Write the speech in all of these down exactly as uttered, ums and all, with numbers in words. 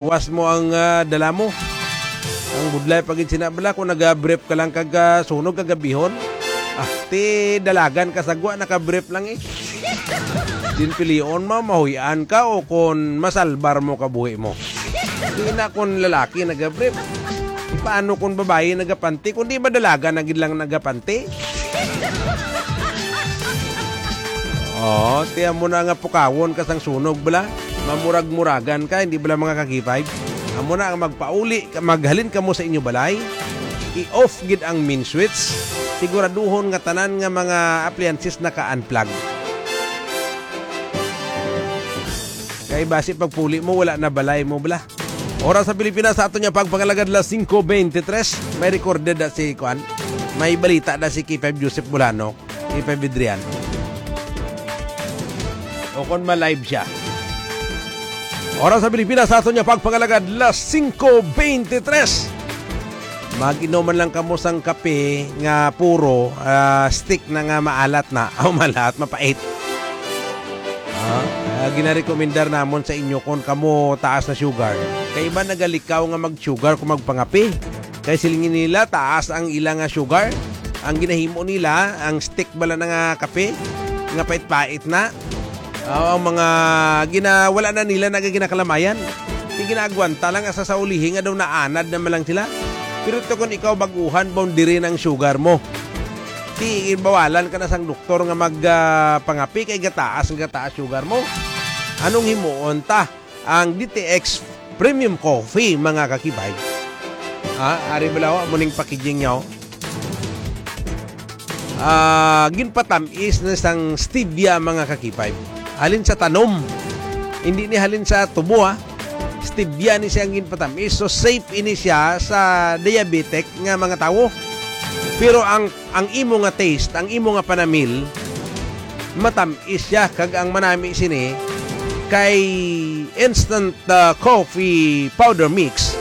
Was mo ang, ah, dala mo. Ang budlay pa gid sina bala kung naga-brief ka lang kag, ah, sunog kagabihon. Ah, ti dalagan ka sa gwa, naka-brief lang eh. Din pilion mo, mahuy-an ka o kon masalbar mo kabuhi mo. Di na kon lalaki naga-brief. Paano kon babayi nagapanti? Kung di ba dalaga na gid lang nagapanti? Oh, tiyan mo na nga pukawon ka sang sunog bala. Mamurag-muragan ka, hindi bala mga ka-K five? Amo na ang magpauli, maghalin kamo sa inyo balay. I-off gid ang main switch. Siguraduhon nga tanan nga mga appliances naka-unplug. Kay basi pagpuli mo, wala na balay mo bala. Oras sa Pilipinas, sa aton nga pagpangalagad, las singko beintitres. May recorded na si, kuan, may balita na si K five Joseph Bulano, K five Adrian. O kon ma-live siya. Oras sa Pilipinas, sa aton nga pagpangalagad, las singko beintitres. Mag-inom man lang kamo sang kape nga puro, ah, stick na nga maalat na. O, maalat, mapait. Ah, ah, ginarekomendar namon sa inyo kon kamo taas na sugar. Kay iba nagalikaw nga mag-sugar kung magpangape. Kay siling nila taas ang ila nga sugar. Ang ginahimo nila, ang stick bala na nga kape, nga pait-pait na. Ah, ang mga gina-, wala na nila nagaginakalayan. Di ginaagwanta lang asa sa ulihi nga daw naanad naman lang sila. Pero to kung ikaw baguhan, boundary ng sugar mo. Ti, bawalan ka na sang doktor nga mag, ah, pangapi kay gataas ang gataas sugar mo. Anong himuon ta? Ang D T X Premium Coffee, mga kakibay. Ah, ari bala, oh, amo ning packaging niya, oh. Ah, ginpatamis na sang stevia, mga kakibay. Halin sa tanom. Hindi ni halin sa tubo, ah. Stevia ni siya ang ginpatamis. So, safe ini siya sa diabetic nga mga tawo. Pero ang, ang imo nga taste, ang imo nga panamil, matam-is siya, kag ang manami sini kay instant, ah, coffee powder mix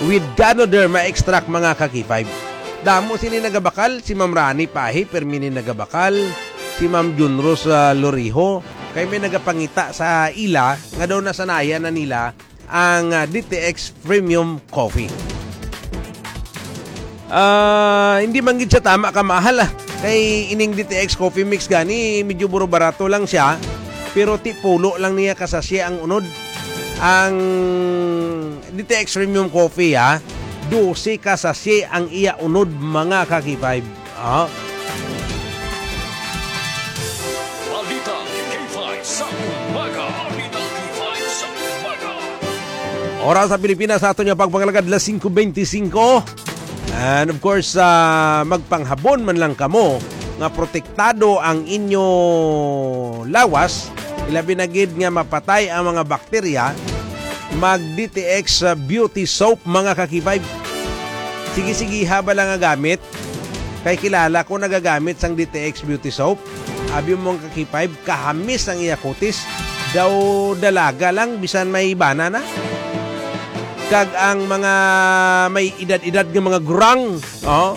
with Ganoderma extract, mga ka-K five. Damo sini nagabakal, si Ma'am Rani Pahi, permi ni nagabakal, si Ma'am Junros, ah, Loriho, kay may nagapangita sa ila nga daw nasanayan na nila ang, ah, D T X Premium Coffee. Ah, hindi man gid siya tama ka mahal, ah. Kay ining D T X Coffee Mix gani, medyo buro barato lang siya, pero ti pulo lang niya ka sachet ang unod. Ang D T X Premium Coffee, ah, dose ka sachet ang iya unod, mga ka-K five. Ah. Balita K five sa umaga. Balita K five sa umaga. Oras sa Pilipinas, sa aton nga pagpangalagad, las singko beintisinko. And of course, ah, magpanghabon man lang kamo nga protektado ang inyo lawas, ilabi na gid nga mapatay ang mga bakterya, mag D T X Beauty Soap, mga ka-K five. Sige-sige, haba lang nga gamit. Kay kilala ko nagagamit sang D T X Beauty Soap. Abi mo ang ka-K five, kahamis ang iya kutis. Daw dalaga lang, bisan may bana na. Kag ang mga may edad-edad nga mga gurang, oh,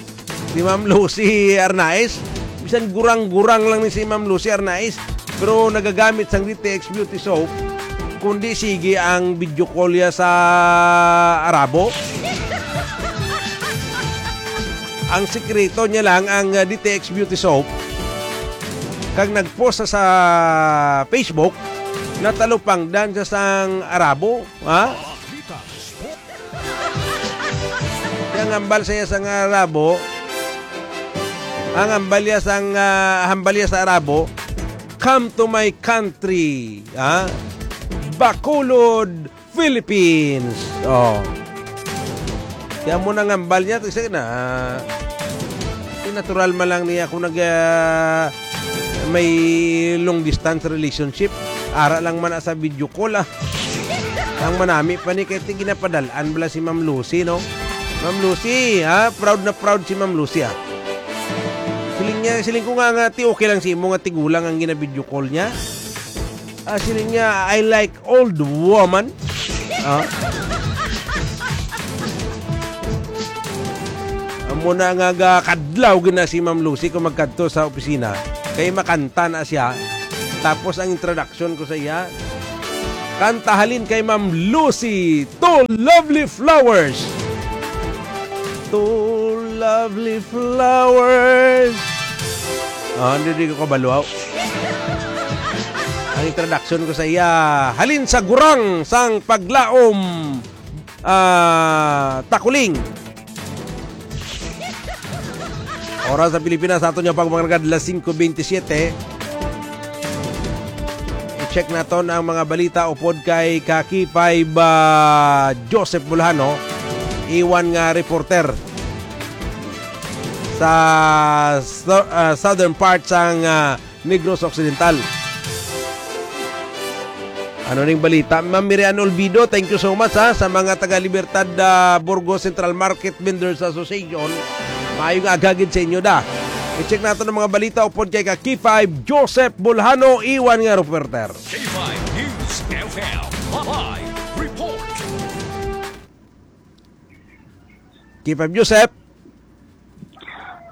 si Ma'am Lucy Arnaiz, bisan gurang-gurang lang ni si Ma'am Lucy Arnaiz, pero nagagamit sang D T X Beauty Soap, kundi sige ang video call ya sa Arabo. Ang sikreto niya lang ang, uh, D T X Beauty Soap. Kag nag-post sa, sa Facebook, natalupangdan siya sang Arabo, ha? Ang hambal sa iya sang Arabo, ang hambal niya sang, ah, hambal niya sa Arabo, "Come to my country," ha? Bacolod, Philippines. Oh. Kaya mo nang hambal niya, kasi na, natural man lang niya kung nag, ah, may long distance relationship. Ara lang man sa video call, ah. Ang manami pa ni kay ti ginapadalan bala si Ma'am Lucy, no? Ma'am Lucy, ha? Proud na proud si Ma'am Lucy, ha? Siling niya, siling ko nga, nga, ti okay lang si imo nga tigulang ang gina-video call niya. Ah, siling niya, "I like old woman." Ah? Amo na nga ga-, kadlaw gina si Ma'am Lucy kung magkadto sa opisina. Kay makanta na siya. Tapos ang introduction ko sa iya, Kanta halin kay Ma'am Lucy, Two Lovely Flowers. Two lovely flowers. Ah, hindi, di ko kabalo. Ang introduction ko sa iya, halin sa gurang sang paglaom, ah, takuling. Oras sa Pilipinas, ato niya pag mga alas singko bentisiete. I-check naton ang mga balita upod kay Kaki five, ah, Joseph Bulhano, iwan nga reporter sa so-, ah, southern part sang, ah, Negros Occidental. Ano ning balita? Ma'am Miriam Olvido, thank you so much, ha, sa mga taga Libertad, ah, Burgos Central Market Vendors Association. Maayong aga gid sa inyo da. I-check naton ang mga balita upod kay Kaki five Joseph Bulhano, iwan nga reporter. K five News F M live report. K five Joseph.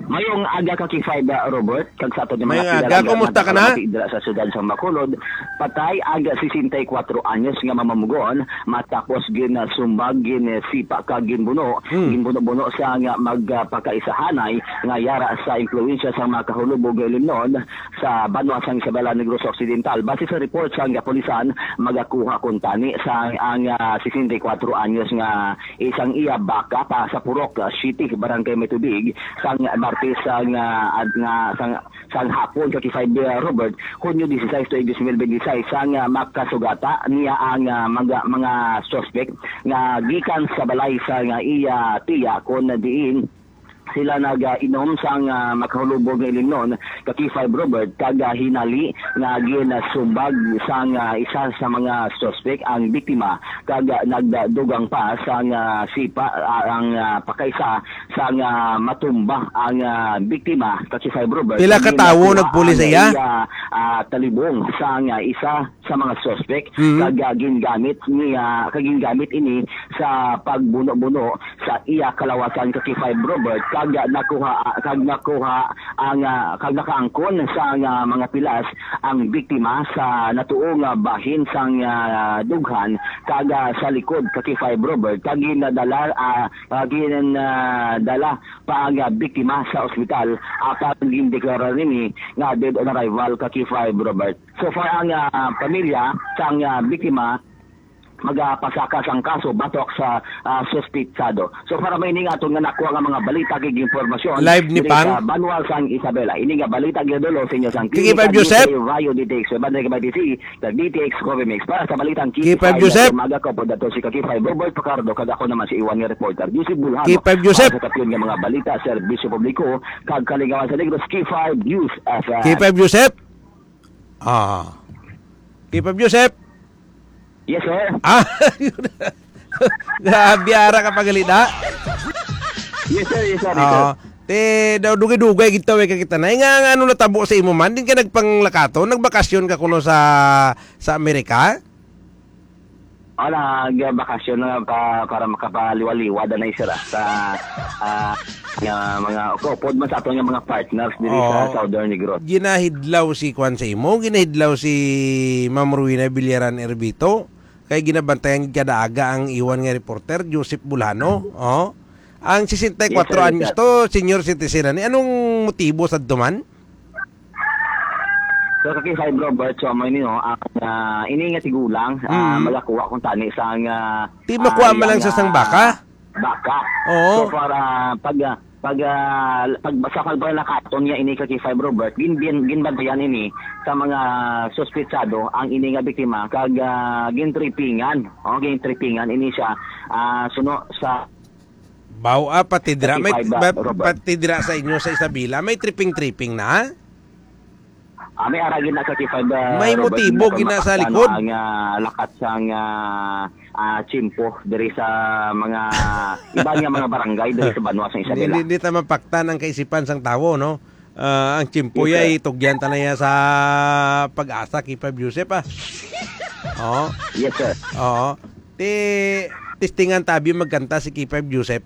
Mayong aga, Kaki five, uh, Robert, kag sa aton nga mga Mayong aga, kilala nga kumusta ka na? Nagpalamati dira sa siyudad sa Bacolod, patay ang sesenta y kuwatro anyos nga mamamaguwang matapos ginsumbag, ginsipa kag ginbuno, Hmm. ginbuno-buno sa nga magpakaisahanay nga yara sa impluwensya sa mga kahulubog nga ilimnon sa banwa sang Isabela, Negros Occidental. Base sa report sang kapulisan, magakuha kuntani sa ang, ah, sesenta y kuwatro anyos nga isang iya baka pa sa Purok, ah, City, Barangay May Tubig, sang Martes sang, ah, ad-, nga, sang, sang hapon, Kaki five, ah, Robert, Hunyo disisais, tuig dos mil benti sais, sang, ah, makasugata niya ang, ah, mga, mga suspek nga gikan sa balay sa nga iya tiya, kon diin sila nag-inom sang, ah, makahulubog nga ilimnon, Kaki five Robert, kag, ah, hinali nga ginsumbag sang, ah, isa sa mga suspek ang biktima, kag, ah, nagdugang pa sang, ah, sipa, ah, ang, ah, pakaisa sang, ah, matumba ang, ah, biktima, Kaki five Robert. Pila ka tawo nagpuli sa iya? Iya, ah, talibong sang, ah, isa sa mga suspek, Mhm. kag, ah, gingamit niya, kag gingamit ini sa pagbuno-buno sa iya kalawasan, Kaki five Robert, kag nakuha, kag nakuha ang, ah, kag nakaangkon sa, ah, mga pilas ang biktima sa natuo nga bahin sang, ah, dughan, kag, ah, sa likod, Kaki five Robert, kag ginadala, ah, ah, ginadala pa ang, ah, biktima sa ospital, apan gindeklara nini nga dead on arrival, Kaki five Robert. So far, ang, ah, pamilya sang, ah, biktima magapasaka sang kaso batok sa, ah, suspitsado. So far, may ini nga aton nga nakuha nga mga balita kag impormasyon Live ni diri Pang? sa banwa sang Isabela. Ini nga balita ginadul-ong sa inyo sang Kiki Klinika Pam Joseph? Dito Rayo D T X, Banday Kabay T C, sa D T X Coffee Mix. Para sa balitang Kiki Pam Joseph? Umaga ko po dato si Kaki five Robert Pacardo, kag ako naman si Iwan nga reporter, Joseph Bulhano. Kiki Pam Joseph? Para sa kapyon nga mga balita, serbisyo publiko, kag kalingawan sa Negros, Kiki five News F M. Kiki five Joseph? Ah. Kiki five Joseph? Yes, sir. Ah, grabe, ara ka pagalida. Yes, sir. Yes, sir. Yes, sir. Oo. Te, daw dugay-dugay gid taw, eh, ka kita na. Eh, nga, nga, ano natabo sa imo man? Din ka nagpanglakaton? Nagbakasyon ka kuno sa, sa Amerika? Wala, nagbakasyon na pa, para makapaliwa-liwa na, sir, ah, sa, ah, nga mga, kaupod man sa aton nga mga partners diri sa Oo. Southern Negros. Ginahidlaw si kwan sa imo, ginahidlaw si Ma'am Rowena Villaran Erbito. Kay ginabantayan gid kada aga ang iwan nga reporter, Joseph Bulhano. Oh. Ang sesenta y kuwatro Yes, sir, yes, anyos sir. to, senior citizen na ni. Anong motibo sa duman? So, Kaki five Robert, so, amo ini, no, ang, ah, ini nga tigulang, ah, Mm. magakuha kuntani sang, ah, Ti makuha ah, man lang iya sa sang nga baka? baka. Oo. So, para pag, ah, pag, ah, pag, sa pagbalakaton niya ini, Kaki five Robert, gin-, gin-, ginbantayan ini sa mga suspitsado ang ini nga biktima, kag, ah, gintripingan. Oh, gintripingan ini siya, ah, suno sa Baw, ah, pati dira, may, Kaki five, ah, ba-, Robert. pati dira sa inyo sa Isabela, may tripping-tripping na? Ah, may ara gid na, Kaki five, ah, May Robert, motibo nga gid na sa makapaktan likod. ang, ah, lakat sang, ah, ah, tiyempo diri sa mga iba nga mga barangay diri sa banwa sa Isabela. Hindi, hindi ta mapaktan ang kaisipan sang tawo, no? Ah, ang tiyempo Yes, sir. yay, tugyan ta na ya sa pag-asa, Kaki five Joseph, ah. Oo. Yes, sir. Oo. Ti, testingan tabi magkanta si Kaki five Joseph.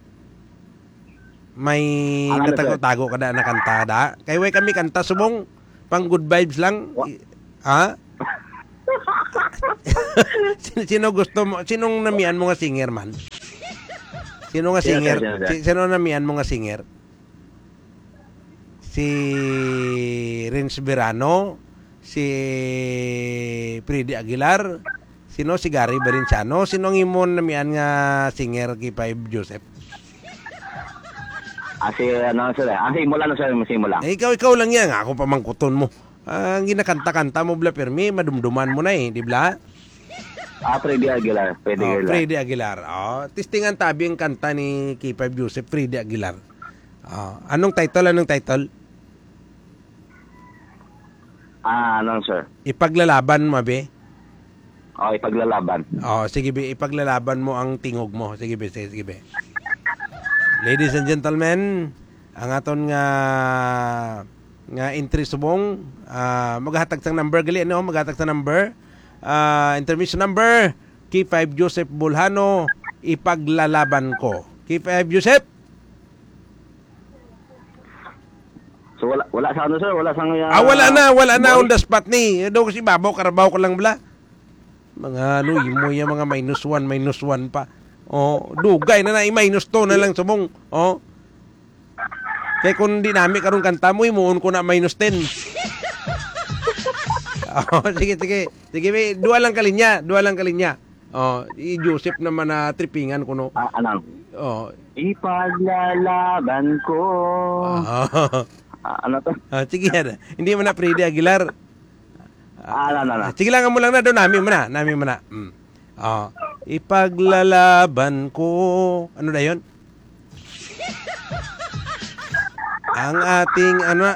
May Ang ano, sir? natago-tago ka na, nakanta da? Kay way kami kanta, subong, pang good vibes lang. Wa- I-, ha? Sin-, sino gusto mo? Sinong namian mo nga singer man? Sino nga Sino, singer? sir? Sino, sir? Si-, sino namian mo nga singer? Si Renz Verano, si Freddy Aguilar, sino, si Gary Valenciano? Sino ang imo namian nga singer, K five Joseph? Ah, si, ano, sir, eh. Ah, si Imo lang, sir, si Imo lang. Eh, ikaw, ikaw lang yan. Ako pa mangkuton mo. Ah, ang ginakanta-kanta mo, bla, pirmi, madumduman mo na eh, di bla? Ah, Freddy Aguilar. Freddy Oh, Aguilar. Freddy Aguilar. Oh, testingan tabi ang kanta ni K five Joseph, Freddy Aguilar. Oh, anong title? Anong title? Ah, ano, sir? Ipaglalaban mo, abi? Oh, ipaglalaban. Oh, sige, bi, ipaglalaban mo ang tingog mo. Sige, bi, sige, sige, bi. Ladies and gentlemen, ang aton nga, nga entry subong, ah, maghatag sang number gali, ano? Maghatag sang number. Ah, intermission number, K five Joseph Bolhano, Ipaglalaban Ko. K five Joseph? So, wala, wala sa ano, sir? Wala sa nga, Ah, wala na, wala na wala. On the spot ni. Daw kasi babaw, karabaw ko lang bala. Mga ano, imo yung mga minus one, minus one pa. Oh, dugay na na, i-minus two na lang subong. Oh. Kay kung di nami karong kanta mo, imuon ko na minus ten. Oh, sige, sige. Sige, may dua lang kalinya, dua lang kalinya. Oh, i Joseph naman na tripingan ko, no? Ah, anong? Oh. Ipaglalaban ko. Ah. Ah, ano to? Ah, sige, yan. Hindi mo na, Freddy Aguilar. Ah, no, no, no. Sige lang, amo lang na, do nami mo na, nami mo na. Mm. Ah, ipaglalaban ko. Ano na yun? Ang ating, ano na,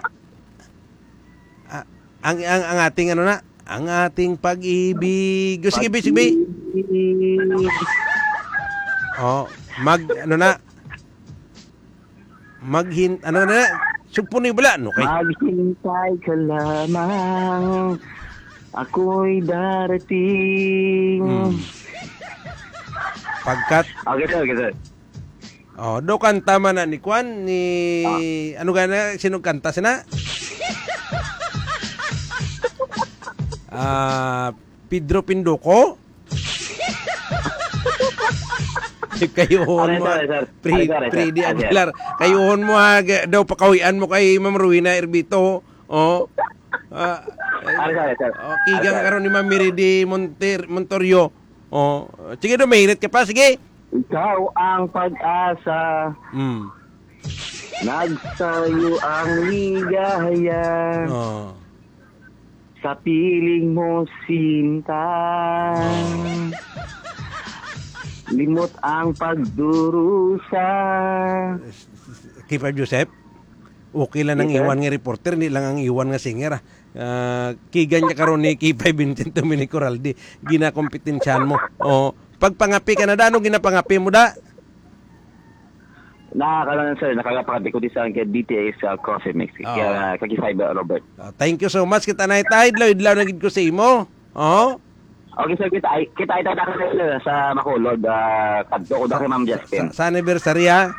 ah, ang, ang, ang ating, ano na, ang ating pag-ibig. Sige, bi, sige, bi. Pag-ibig. Oh, mag, ano na, Maghin-, ano na, sugpo ni bala, no, kay Maghintay ka lamang, ako'y darating. Hmm. Pagkat Okay, sir. Okay, sir. Oh, do kanta man na ni Kwan, ni, Ah. ano gana, sino kanta sina? Ah, Pedro Pinduko? Kayuhon Ano, mo, sir, sir? Pre-, Ano, sir, sir? Freddy Ano, sir? Aguilar. Kayuhon mo, ha, g-, daw pakawian mo kay Ma'am Rowena Erbito. Oh. Ah, Ano, sir, sir? Oh, kigang Ano, sir? karon ni Ma'am Miridi Monter-, Montorio. Oh, sige daw, mahirit ka pa, sige. Ikaw ang pag-asa. Hmm. Nagsayo ang ligaya. Oh. Sa piling mo, sinta. Oh. Limot ang pagdurusa. K five Joseph, okay lang ang Yes, sir. Iwan nga reporter, hindi lang ang Iwan nga singer, ah. Ah, kigan niya karon ni K five Vincent Dominic Coralde, ginakompetensyahan mo. Oh, pagpangapi ka na, da, ano ginapangapi mo, da? Na, karon, sir, nakagapakati ko di sa kay D T S, uh, Coffee Mix. Oo. Kaya, kay Fiber Robert. Ah, thank you so much. Kita na itay, idlaw-idlaw na gid ko sa imo. Oh? Okay, sir, kita ay, kita ay tayo, sir, sa Macolod, ah, kadto ko da kay Ma'am Sa, Justin. sa, sa anniversary, ha?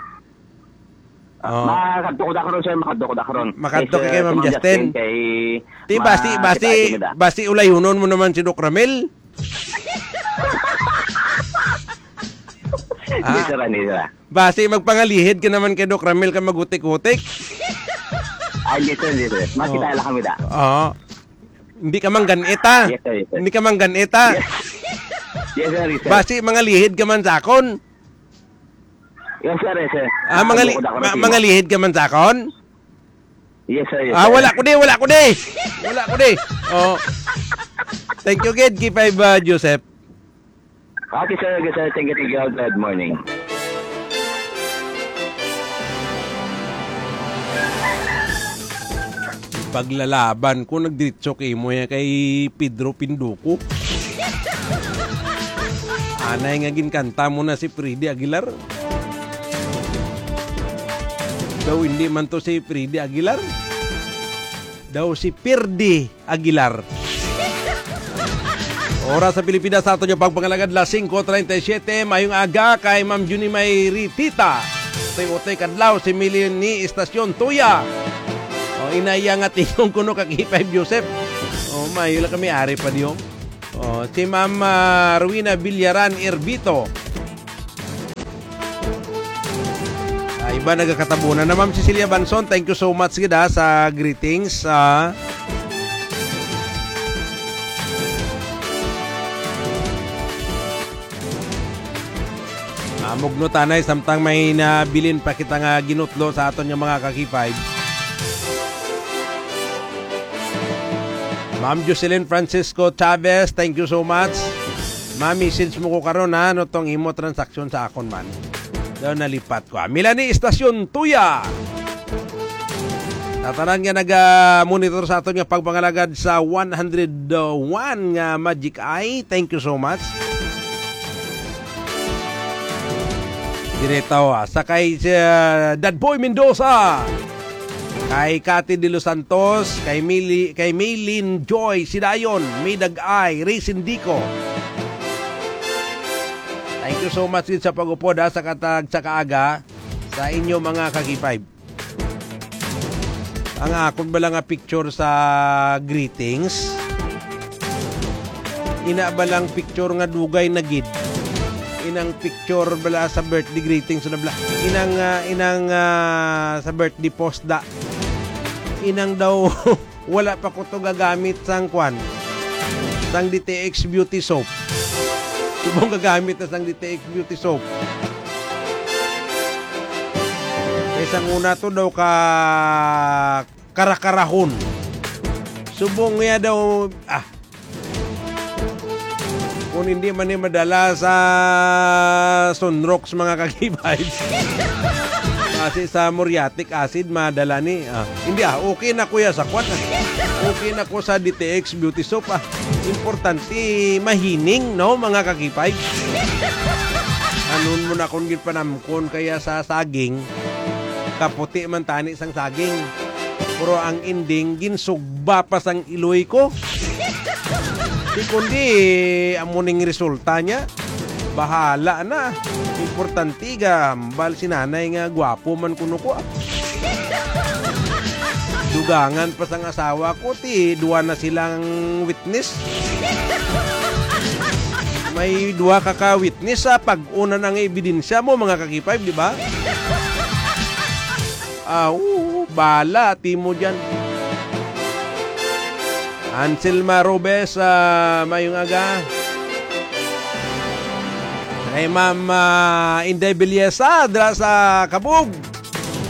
Ah, Oh. makadto ko da karon, sir, makadto ko da karon. Makadto Kay kay Sir, Ma'am si Ma'am Justin. Justin, kay Di, basi, ma-, basi, kita ay tumida. basi ulayunon mo naman si Doc Ramil. Hindi, Ah. sir, hindi, sir. Basi magpangalihid ka naman kay Doc Ramil ka magutik-utik. Ah, hindi, sir, hindi, sir. Makita Oh. lang kami da. Oo. Hindi ka man ganit, ah. Yes, sir, yes, sir. Hindi ka man ganit, ah. Yes. Yes, sir, yes, sir. Basi mangalihid ka man sa akon. Yes, sir, yes, sir. Ah, Ah, mangali-, bukod ako ma-, rin, sir. mangalihid ka man sa akon? Yes, sir, yes, Ah, sir. wala ko di, wala ko di. Wala ko di. Oh. Thank you, gid, K five, ah, Joseph. Okay, sir. Okay, sir. Thank you, thank you. Good morning. Paglalaban ko, nagdiretso kay mo ya kay Pedro Pinduko. Anay nga ginkanta mo na si Freddy Aguilar. Daw hindi man to si Freddy Aguilar. Daw si Pirdi Aguilar. Oras sa Pilipinas, sa aton yung pagpangalagad, las singko treinta y siete. Mayong aga kay Ma'am Junie May Ritita. Utoy-utoy kadlaw si Millie ni Estacion Tuya. O, inaya nga tingog kuno kag K five Joseph. O, mayo lang kami ari pa diyo. Oh, si Ma'am, ah, Rowena Villaran Erbito. Ah, iba nagakatabunan na. Ma'am Cecilia Banson, thank you so much gid, ah, sa greetings. Ah. Ah, mugno tanay samtang may nabilin pa kita nga ginutlo sa aton nga mga ka-K five. Ma'am Jocelyn Francisco Chavez, thank you so much. Ma-message mo ko karon, ha, ano tong imo transaksyon sa akon man. Daw nalipat ko, ha. Melanie Estacion Tuya. Sa tanan nga naga-monitor sa aton nga pagpangalagad sa one hundred one nga Magic Eye, thank you so much. Diretaw, ah, sa kay, ah, Dadboy Mendoza, kay Cathy De Los Santos, kay Mili-, kay Maylin Joy Sidayon, May Dagay, Ray Sindico. Thank you so much gid sa pag-upod, ha, sa katag sa kaaga sa inyo mga ka-K five. Ang akon bala nga picture sa greetings, ina ba lang picture nga dugay na gid? Inang picture bala sa birthday greetings na bala. Inang, ah, inang, ah, sa birthday post da. Inang daw wala pa ko to gagamit sang kwan, sang D T X Beauty Soap. Subong gagamit na sang D T X Beauty Soap. Kay sang una to daw ka karakarahon. Subong niya daw, ah, kung hindi man ni madala sa Sunrox, mga ka-K five. Kasi sa muriatic acid, madala ni. Ah, hindi, ah, okay na ko ya sa kwan, ah. Okay na ko sa D T X Beauty Soap, ah. Importante, mahining, no, mga ka-K five? Anon mo na kung ginpanamkon kaya sa saging, kaputi man tani sang saging. Pero ang ending, ginsugba pa sang iloy ko. Di kundi, amo ning resulta niya. Bahala na. Importante, gahambal si nanay nga gwapo man kuno ko, ah. Dugangan pa sang asawa ko, ti duwa na silang witness. May duwa ka ka-witness sa pag-una ng ebidensya mo, mga ka-K five, di ba? Ah, oo, bala, timo dyan. Anselma Robes, ah, mayong aga. Kay Ma'am, ah, Inday Belleza, dra sa Kabug.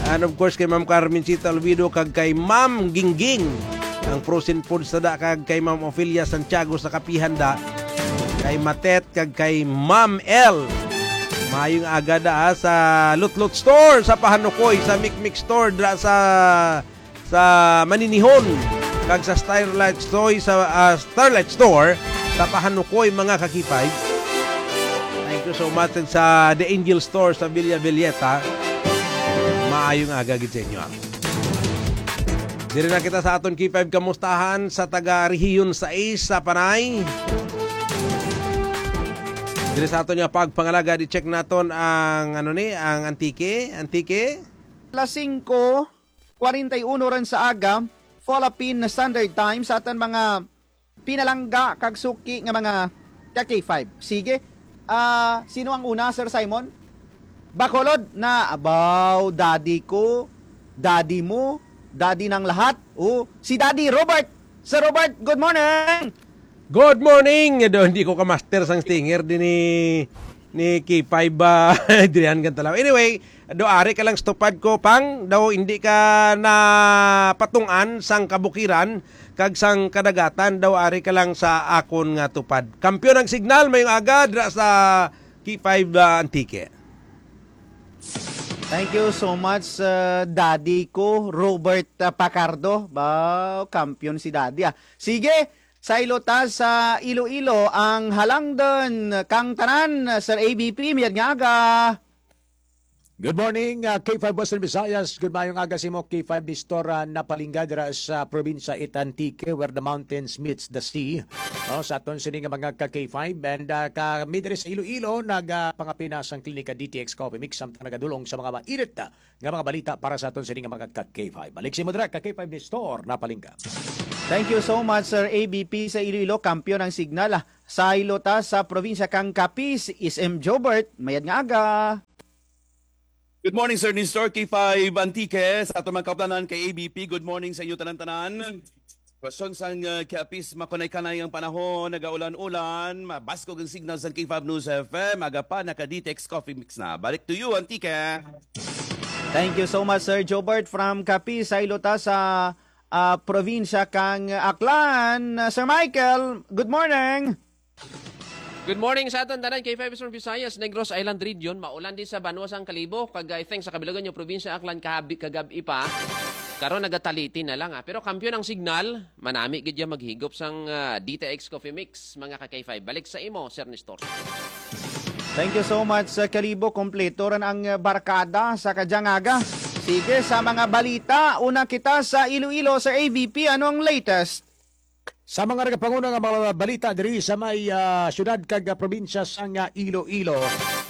And of course, kay Ma'am Carmencita Olvido, kag kay Ma'am Gingging, ang frozen food sa da, kag kay Ma'am Ofelia Santiago sa Kapihan da, kay Matet, kag kay Ma'am L. Mayong aga da, ah, sa Lutlot Store sa Pahanukoy, sa Mikmik Store dra sa, sa Maninihon, kag sa Starlight Store sa, ah, Starlight Store sa Pahanukoy, mga ka-K five. Thank you so much, and sa The Angel Store sa Villa Villeta. Maayong aga gid sa inyo, ah. Diri na kita sa aton K five kamustahan sa taga Rehiyon sais sa Panay. Diri sa aton nga pagpangalagad, i-check naton ang, ano ni, ang Antique. Antique? Alas singko kwarenta y uno ran sa aga, Philippine Standard Time, sa atan mga pinalangga kag suki nga mga ka-K five. Sige. Ah, sino ang una, Sir Simon? Bacolod na, abaw, daddy ko, daddy mo, daddy ng lahat. Oh, si Daddy Robert. Sir Robert, good morning! Good morning! Do, hindi ko ka-master sang stinger din ni, ni K five ba? Adrian Cantalaw. Anyway, do ari ka lang sa tupad ko, pang, daw hindi ka na patungan sang kabukiran, kag sang kadagatan, daw ari ka lang sa akon nga tupad. Kampiyon ang signal, mayong aga, dra sa K five, ah, Antique. Thank you so much, uh, Daddy ko, Robert, uh, Pacardo. Ba, kampiyon si Daddy, ah. Sige, saylo ta sa Iloilo, ang halangdon kang tanan, Sir A B P, mayad nga aga. Good morning, uh, K five Western Visayas. Good mayong aga sa imo, K five Nestor, uh, Napalingga, dira sa probinsya it Antique, where the mountains meets the sea. No, sa aton sini nga mga ka K five, and, uh, kami diri sa Iloilo, nagapangapina sang Klinika D T X Coffee Mix, samtang nagadulong sa mga mainit na nga mga balita para sa aton sini nga mga ka K five. Balik sa imo dira, ka K five Nestor Napalingga. Thank you so much, Sir A B P sa Iloilo. Kampiyon ang signal, ah. Saylo ta sa probinsya kang Capiz, S M Jobert. Mayad nga aga. Good morning, Sir Nestor, K five Antique, sa aton mga kaupdanan kay A B P. Good morning sa inyo tanan-tanan. Kwestiyon sang, uh, Capiz, makunay-kanay ang panahon, nagaulan-ulan, mabaskog ang signal sang K five News F M. Aga pa, naka D T X Coffee Mix na. Balik to you, Antique. Thank you so much, Sir Jobert from Capiz. Saylo ta sa, ah, probinsya kang Aklan. Ah, Sir Michael, good morning. Good morning sa aton tanan, K five Eastern Visayas, Negros Island Region. Maulan din sa banwa sang Kalibo, kag I think sa kabilugan nyo probinsya Aklan kahabi kagab-i pa. Karon nagataliti na lang, ah. Pero kampiyon ang signal, manami gid ya maghigop sang, ah, D T X Coffee Mix, mga ka K five. Balik sa imo, Sir Nestor. Thank you so much, Sir Kalibo. Kompleto ran ang, ah, barkada sa kadyang aga. Sige, sa mga balita, una kita sa Iloilo, Sir A V P. Ano ang latest? Sa mga nagapanguna nga mga balita diri sa may, ah, siyudad kag, ah, probinsya sang, ah, Iloilo,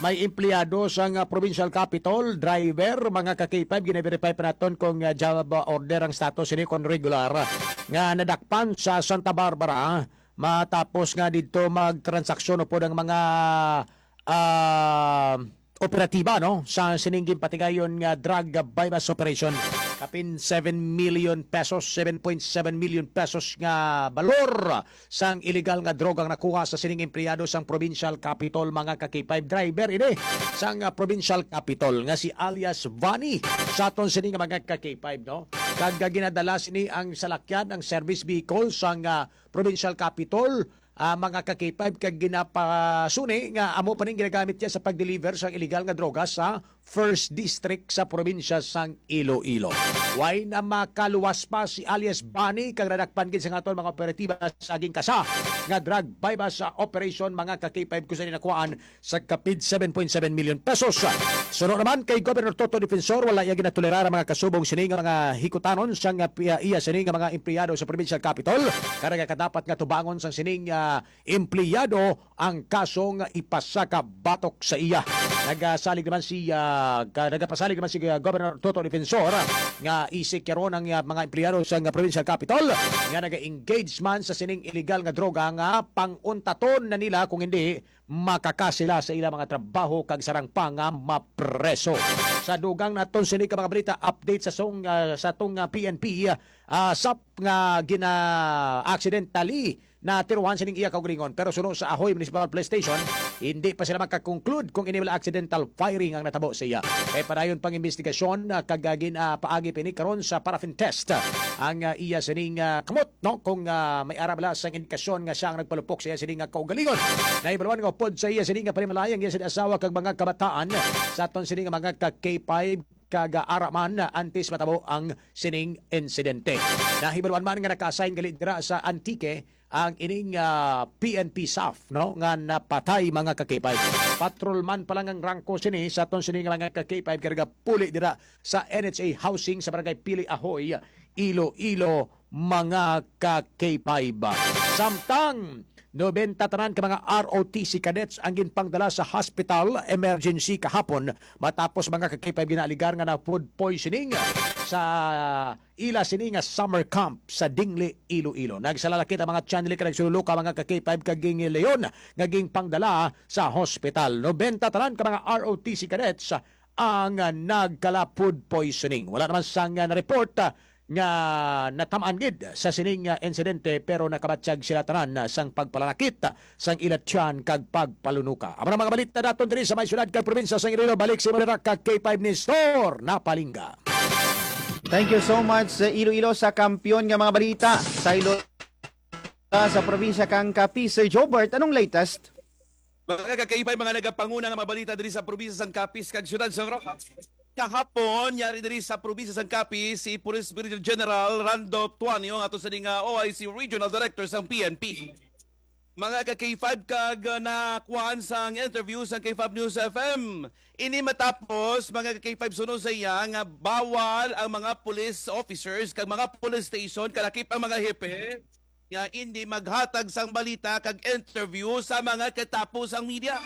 may empleyado sang, ah, provincial capitol, driver, mga ka K five, gina-verify pa naton kung, ah, job order ang status ini, kung regular, nga nadakpan sa Santa Barbara matapos nga didto magtransaksyon upod ang mga, ah, operatiba, no, sa sining ginpatigayon nga drug buy-bust operation. Kapin seven million pesos, seven point seven million pesos nga balor sang iligal nga droga ang nakuha sa sining empleyado sang provincial capitol, mga ka K five, driver ini sang, ah, provincial capitol nga si alias Vani sa aton sini nga mga ka K five, no? Kag, ah, ginadala sini ang salakyan, ang service vehicle sang, ah, provincial capitol, ah, mga ka K five, kag ginapasuni nga amo pa ning ginagamit niya sa pag-deliver sang iligal nga droga sa First District sa probinsya sang Iloilo. Way na makaluwas pa si alias Bani, kag nadakpan gid sa aton mga operatiba sa gingkasa nga drug buy-bust operation, mga ka K five, kung saan nakuhaan sa kapin seven point seven million pesos. Suno naman kay Governor Toto Defensor, wala iya ginatolerar ang mga kasubong sini nga mga hikutanon sang, ah, pi-, iya sini nga mga empleyado sa provincial capitol. Kag nagakadapat nga tubangon sang sining, ah, empleyado ang kasong ipasaka batok sa iya. Nagasalig naman si, ah, ka-, nagapasalig naman si, ah, Governor Toto Defensor, ah, nga isik karon ang, ah, mga empleyado sang provincial capitol nga naga-engage man sa sining iligal nga droga nga panguntaton na nila, kung hindi makaka sila sa ilang mga trabaho kag sarang pa nga mapreso. Sa dugang naton sini ka mga balita, update sa song, ah, sa tong, ah, P N P, ah, sap nga gina-, accidentally natiruhan sining iya kaugalingon. Pero suno sa Ahoy Municipal Police Station, hindi pa sila makakonclude kung ini wala accidental firing ang natabo sa iya. Kay padayon pang investigasyon, ah, kag, ah, gin-, ah, paagi pa ini karon sa paraffin test, ah, ang, ah, iya sining, ah, kamot, no? Kung, ah, may ara bala sang indikasyon nga siya ang nagpalupok sa iya sining, ah, kaugalingon. Nahibaluan nga upod sa iya sining, ah, panimalay ang iya sining asawa kag mga kabataan sa aton sining, ah, mga ka K five kag, ah, ara man, ah, antes matabo ang sining insidente. Nahibaluan man nga naka-assign gali dira sa Antique ang ining, ah, P N P saf, no, nga napatay, mga ka K five. Patrolman pa lang ang rangko sini sa aton sini nga mga ka K five, kay nagapuli dira sa N H A housing sa Barangay Pili Ahoy, Iloilo, mga ka K five. Samtang nobenta tanan ka mga R O T C cadets ang ginpangdala sa hospital emergency kahapon matapos, mga ka K five, ginaaligar nga na food poisoning sa ila sini nga summer camp sa Dingli, Iloilo. Nagsalalakit ang mga Chanli kag nagsululuka, mga ka K five, kag gingilayon nga ginpangdala sa hospital. Nobenta tanan ka mga R O T C cadets ang, ah, nagkala food poisoning. Wala naman sang, ah, na-report, ah, nga natamaan gid sa sining, ah, insidente, pero nakabatyag sila tanan, ah, sang pagpalanakit, ah, sang ila tiyan kag pagpalunuka. Amo na mga balita daton diri sa may syudad kag probinsya sang Iloilo. Balik sa imo dira ka K five Nestor Napalingga. Thank you so much, sa Iloilo, sa kampiyon nga mga balita. Saylo ta sa probinsya kang Capiz, Sir Jobert, anong latest? Mga ka K five, mga nagapanguna nga mga balita diri sa probinsya sang Capiz kag siyudad sang Roxas. Kahapon, yari diri sa probinsya sang Capiz si Police Brigadier General Randolph Tuanio, ato sa nga O I C Regional Director sang P N P. Mga ka K five, kag, uh, nakuhaan sang interview sang K five News F M. Ini matapos, mga ka K five, suno sa iya nga bawal ang mga police officers kag mga police station, kalakip ang mga hepe, nga hindi maghatag sang balita kag interview sa mga katapo sang media.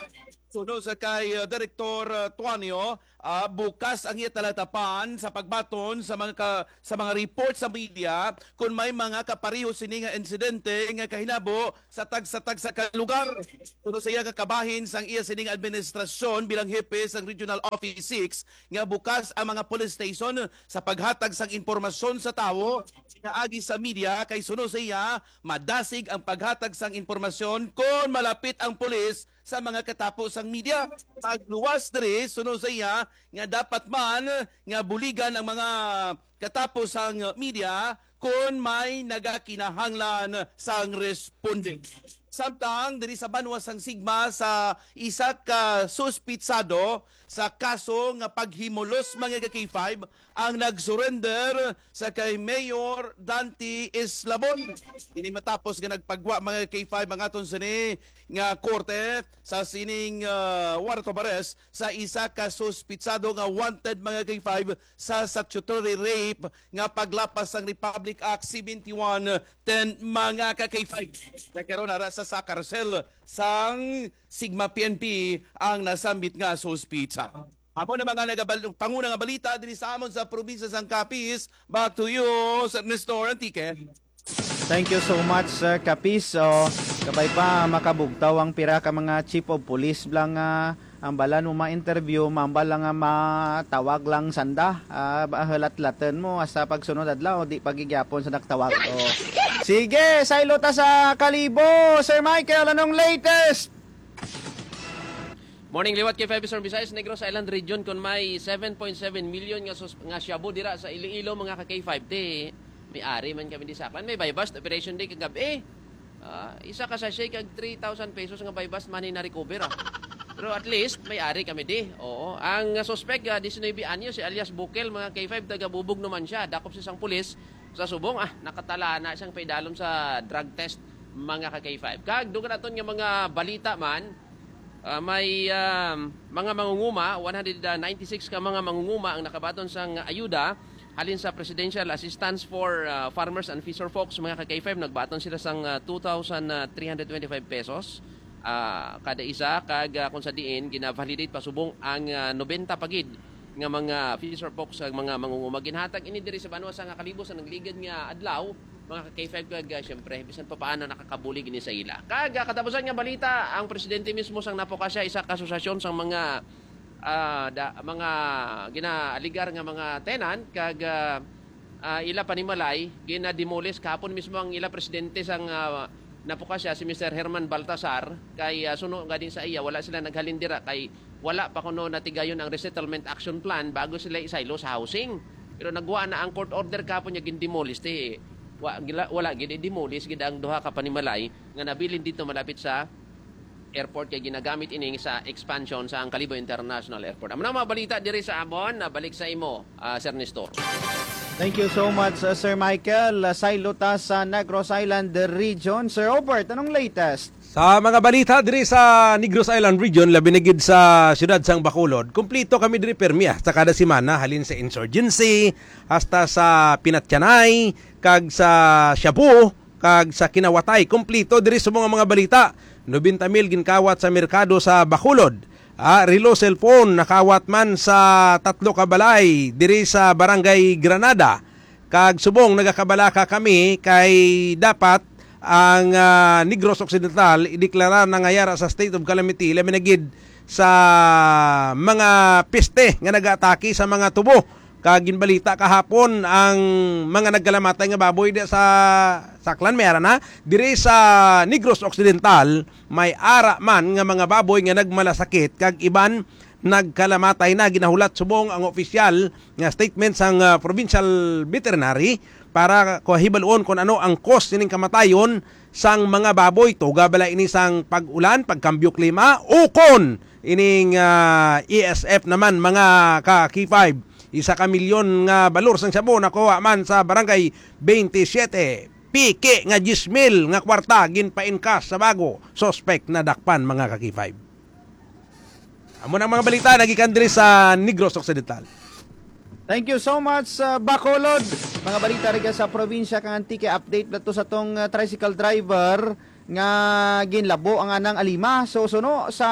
Suno sa kay uh, Direktor uh, Tuanio, uh, bukas ang iya talatapan sa pagbaton sa mga ka, sa mga report sa media kung may mga kapareho sini nga insidente nga kahinabo sa tagsa-tagsa ka lugar. Suno sa iya nga kabahin sang iya sining administrasyon bilang hepe sang Regional Office six nga bukas ang mga police station sa paghatag sang impormasyon sa tawo nga agi sa media kay suno sa iya madasig ang paghatag sang impormasyon kon malapit ang pulis sa mga katapo sang media. Pagluwas diri, suno sa iya, nga dapat man nga buligan ang mga katapo sang media kon may nagakinahanglan sang responde. Samtang diri sa banwa sang Sigma sa isa ka suspitsado sa kaso nga paghimulos mga ka K five ang nag-surrender sa kay Mayor Dante Eslabon. Ini matapos nga nagpagwa mga K five ang aton sini nga korte sa sining uh, warrant of arrest sa isa ka suspitsado nga wanted mga K five sa statutory rape nga paglapas sang Republic Act seventy-one ten mga ka K five. Nagkaroon na sa, sa karsel sang Sigma P N P ang nasambit nga suspitsa. Amo na mga nagabal panguna nga balita diri sa amon sa probinsya sang Capiz. Back to you, Sir Nestor Antique. Thank you so much, Sir Capiz. So, kabay pa makabugtaw ang pira ka mga chief of police lang nga ang balan mo ma-interview, mambal lang nga matawag lang sanda. Ah, ba- halatlaton mo hasta pagsunod adlaw, di pagigyapon sa nagtawag. Oh. Sige, saylo ta sa Kalibo. Sir Michael, anong latest? Morning liwat kay five Eastern Visayas, Negros Island Region, kon may seven point seven million nga sus- nga shabu dira sa Iloilo, mga ka K five, di may ari man kami di saklan. May buy bust operation day kagabi. Ah, isa ka sachet kag three thousand pesos nga buy bust money na recover, ah. Pero at least may ari kami di. Oo. Ang suspect, ah, diecinuebe anyos, si alias Bukel, mga K five, taga Bubog naman siya. Dakop siya sang pulis sa subong, ah, nakatala na siyang paidalom sa drug test, mga ka K five. Kag dugang naton nga mga balita man, ah, may, ah, mga mangunguma, one hundred ninety-six ka mga mangunguma ang nakabaton sang ayuda halin sa Presidential Assistance for, ah, Farmers and Fisher Folks, mga ka K five. Nagbaton sila sang, ah, two thousand three hundred twenty-five pesos, ah, kada isa, kag, ah, kung sa diin gina-validate pasubong ang, ah, nobenta pa gid nga mga fisher folks sa mga mangunguma. Ginhatag ini diri sa banwa sa nga Kalibo sa nagligad nga adlaw, mga ka K five, kag, ah, siyempre bisan pa paano nakakabulig ini sa ila. Kag, ah, katapusan nga balita, ang presidente mismo sang Napocassia, isa ka asosasyon sang mga, ah, da, mga ginaaligar nga mga tenant, kag, ah, ah, ila panimalay gina-demolish. Kahapon mismo ang ila presidente sang, ah, Napocassia, si Mister Herman Baltasar, kay, ah, suno nga din sa iya, wala sila naghalin dira kay wala pa kuno natigayon ang resettlement action plan bago sila isaylo sa housing. Pero nagwa na ang court order kahapon nga gindemolish ti wa, gila, wala gid i-demolish gid ang duha ka panimalay nga nabilin dito malapit sa airport kay ginagamit ining sa expansion sa ang Kalibo International Airport. Amo na mga balita diri sa amon, na balik sa imo, ah, Sir Nestor. Thank you so much, uh, Sir Michael. Uh, saylo ta sa Negros Island Region. Sir Robert, anong latest? Sa mga balita diri sa Negros Island Region, labi na gid sa siyudad sang Bacolod, kumplito kami diri permi, ah, sa kada semana, halin sa insurgency hasta sa pinatyanay kag sa shabu kag sa kinawatay. Kumplito diri sa mga mga balita. Nobenta mil ginkawat sa merkado sa Bacolod. Ah, relo, cellphone nakawat man sa tatlo ka balay diri sa Barangay Granada. Kag subong nagakabalaka kami kay dapat ang, ah, Negros Occidental ideklara na nga yara sa state of calamity, labi na gid sa mga peste nga nagaatake sa mga tubo. Kag ginbalita kahapon ang mga nagkalamatay nga baboy di sa Saklan, may ara na. Diri sa Negros Occidental, may ara man nga mga baboy nga nagmalasakit kag iban nagkalamatay na. Ginahulat subong ang opisyal nga statement sang, ah, provincial veterinary para kuhibal-on kon ano ang cause sining kamatayon sang mga baboy. Tuga bala ini sang pag-ulan, pagkambyo klima, ukon ining, ah, E S F naman, mga ka K five. Isa ka milyon nga balor sang shabu nakuha man sa Barangay twenty-seven. Piki nga diyes mil nga kwarta ginpa-encash sa bago suspect nadakpan, mga ka K five. Amo na ang mga balita nagikan diri sa Negros Occidental. Thank you so much, uh, Bacolod. Mga balita rin sa probinsya kang Antique. Update na to sa tong, uh, tricycle driver nga ginlabo ang anang alima. So, suno sa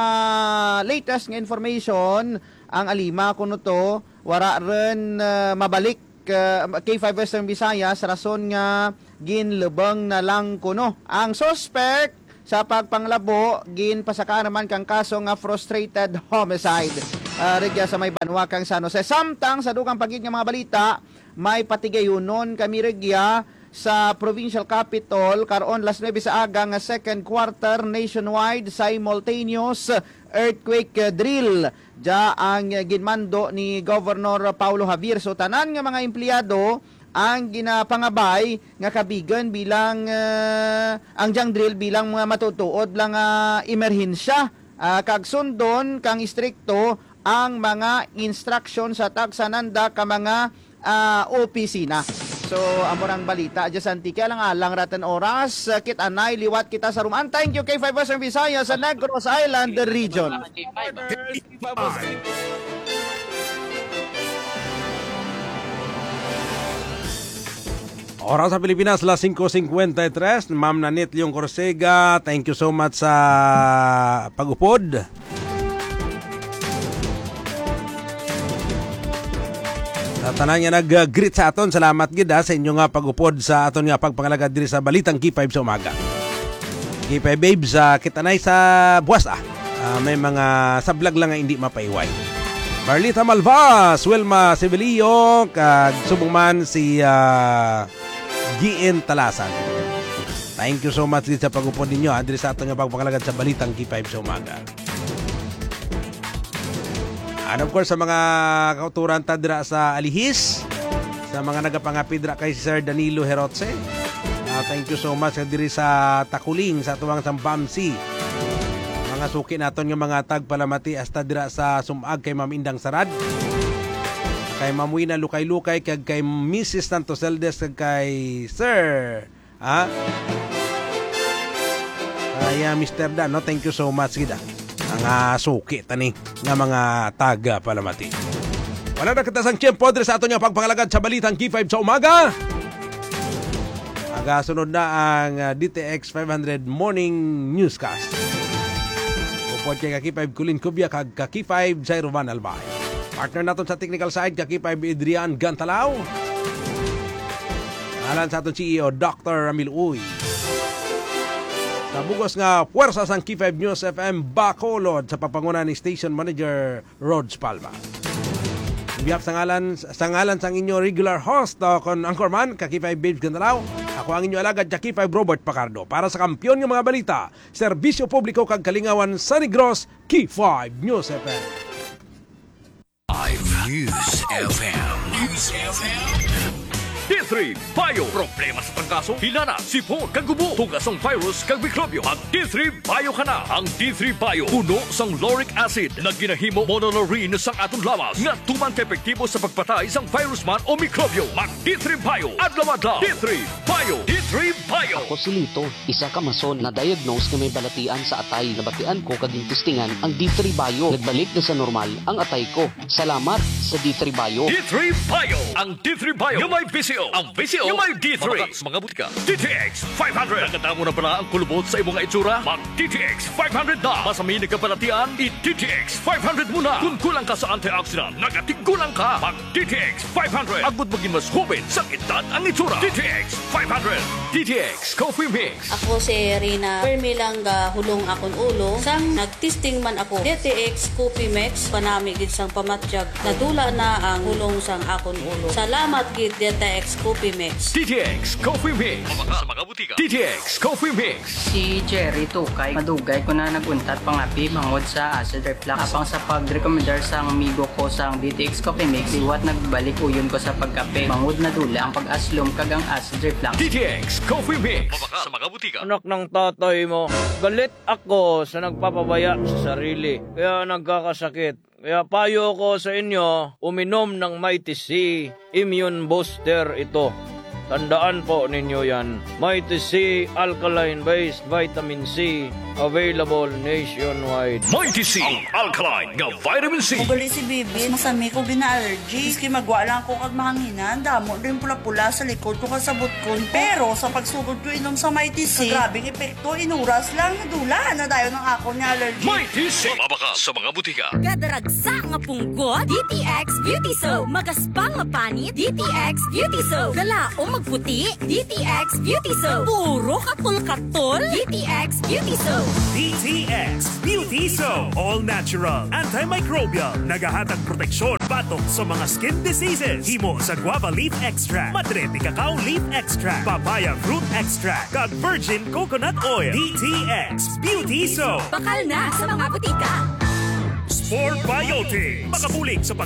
latest nga information, ang alima kuno to wara rin, ah, mabalik, ah, K five Western Visayas rason nga ginlubong na lang kuno. Ang suspect sa pagpanglabo ginpasakaan naman kang kaso nga frustrated homicide, ah, rugya sa may banwa kang San Jose. Samtang sa dugang pa gid nga mga balita, may patigayunon kami rugya sa provincial capital karon las nuebe sa aga nga second quarter nationwide simultaneous earthquake drill. Dia ang ginmando ni Governor Paulo Javier. So, tanan nga mga empleyado ang ginapangabay nga kabigon bilang, ah, ang jang drill bilang mga matutuod lang nga emerhensya, ah, kag sundon kang istrikto ang mga instruction sa tagsananda ka mga, ah, opisina. So, amo rang balita dyan sa Antique. Alang-alang ratan oras, ah, kit anay liwat kita sa Ruman. Thank you, K five Western Visayas sa Negros Island Region. Oras sa Pilipinas, las singko singkwenta y tres. Ma'am Nanit Leon Corsega, thank you so much sa pag-upod. Sa tanan nga nag-greet sa aton, salamat gid, ha, sa inyo nga pag-upod sa aton nga pagpangalagad diri sa Balitang K five sa umaga. K five Babes, ah, kita na sa buwas, ah. Ah, may mga sablag lang nga hindi mapaiway. Marlita Malvas, Wilma Sibilio, kag subong man si, ah, G N Talasan. Thank you so much gid sa pag-upod ninyo, ah, diri sa aton nga pagpangalagad sa Balitang K five sa umaga. And of course, sa mga kauturan ta dira sa Alihis, sa mga nagapangapi dira kay Sir Danilo Herotse, ah, thank you so much. Diri sa Takuling, sa tuwang sang Bamsi, mga suki naton nga mga tagpalamati hasta dira sa Sumag kay Ma'am Indang Sarad, kay Ma'am Wina Lukay-Lukay, kag kay Missus Santos Eldes, kag kay Sir, ha? Kay, ah, Mister Dan, no? Thank you so much gid, ah. Ang, ah, suki tani nga mga taga palamati. Wala na kita sang tiyempo diri sa aton nga pagpangalagad sa Balitang K five sa umaga. Aga sunod na ang, ah, D T X five hundred Morning Newscast. Upod kay ka K five Colin Cubia kag ka K five Jairo Van Albay. Partner naton sa technical side, ka K five Adrian Gantalaw. Ngalan sa aton C E O, Doctor Ramil Uy. Sa bugos nga puwersa sang K five News F M Bacolod sa pagpanguna ni Station Manager Rhodes Palma. In behalf sa ngalan, sa ngalan sang inyo regular host, o kon anchorman, ka K five Babes Gandalaw, ako ang inyo alagad, ka K five Robert Pacardo. Para sa kampiyon nga mga balita, serbisyo publiko kag kalingawan sa Negros, K five News F M. Five News F M. News F M. D three Bio. Problema sa trangkaso, hilanat, sipon, kag gubo, tuga sang virus kag mikrobyo. Mag D three Bio ka na. Ang D three Bio puno sang lauric acid na ginahimo monolaurin sang aton lawas nga tuman ka epektibo sa pagpatay sang virus man o mikrobyo. Mag D three Bio adlaw-adlaw. D three Bio. D three Bio. Ako si Lito, isa ka mason na diagnose nga may balatian sa atay. Nabatian ko kag gintistingan ang D three Bio. Nagbalik na sa normal ang atay ko. Salamat sa D three Bio. D three Bio. Ang D three Bio nga may V C O. Ang V C O nga may D three. Mabakal sa mga butika. D T X five hundred. Nakadamo na bala ang kulubot sa imo nga itsura? Mag D T X five hundred na. Masami nagkabalatian, i D T X five hundred muna. Kung kulang ka sa antioxidant, nagatiggulang ka. Mag D T X five hundred. Agud maging mas hoben sang edad ang itsura. D T X five hundred. D T X Coffee Mix. Ako si Rina. Permi lang gahulong akon ulo. Sang nagtesting man ako, D T X Coffee Mix, panami gid sang pamatyag. Nadula na ang hulong sang akon ulo. Salamat gid, D T X Coffee Mix. D T X Coffee Mix. Mabakal sa mga butika. D T X Coffee Mix. Si Jerry Tukay, madugay ko na nag-untat pangapi bangod sa acid reflux. Apang sa pagrekomendar sang amigo ko sang D T X Coffee Mix, liwat nagbalik uyon ko sa pagkape. Bangod nadula ang pag-aslom kag ang acid reflux. D T X Coffee Mix. Mabakal sa mga butika. Anak ng tatay mo, galit ako sa nagpapabaya sa sarili, kaya nagkakasakit. Kaya payo ko sa inyo, uminom ng Mighty C. Immune booster ito. Tandaan po ninyo yan. Mighty C alkaline-based vitamin C, Available nationwide. Mighty C, ang alkaline nga vitamin C. Ugali si Bibi, masami ko gina-allergy. Maski magwa lang ko kag mahanginan, damo din pula-pula sa likod ko kag sa butkon ko. Pero sa pagsugod ko inom sa Mighty C, grabing epekto, inuras lang, nadula na dayon ang akon nga allergy. Mighty C, mabakal sa mga butika. Kada ragsa nga punggot, D T X Beauty Soap. Magaspang nga panit, D T X Beauty Soap. Kalaom magputi, D T X Beauty Soap. Puro katol-katol, D T X Beauty Soap. D T X Beauty Soap. All natural, antimicrobial. Nagahatag proteksyon batok sa mga skin diseases. Himo sa guava leaf extract, madre de cacao leaf extract, papaya fruit extract, kag virgin coconut oil. D T X Beauty Soap. Bakal na sa mga butika. Spore Biotics. Makabulig sa pag